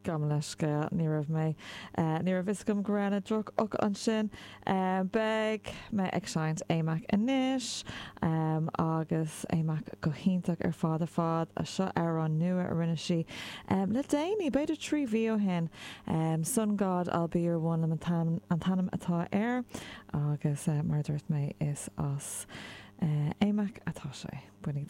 Gabh mo leithscéal, ní raibh mé, ní raibh fhios agam go raibh na drochfhocail ansin. Beidh mé ag seinnt AMAC anois, agus AMAC go hiontach ar fad ar fad. Seo amhrán nua a rinne sí le déanaí, b'fhéidir 3 mhí ó shin. Sun God, I'll Be Your One an t-ainm atá air, agus mar a dúirt mé, is as AMAC atá sé. Bainigí.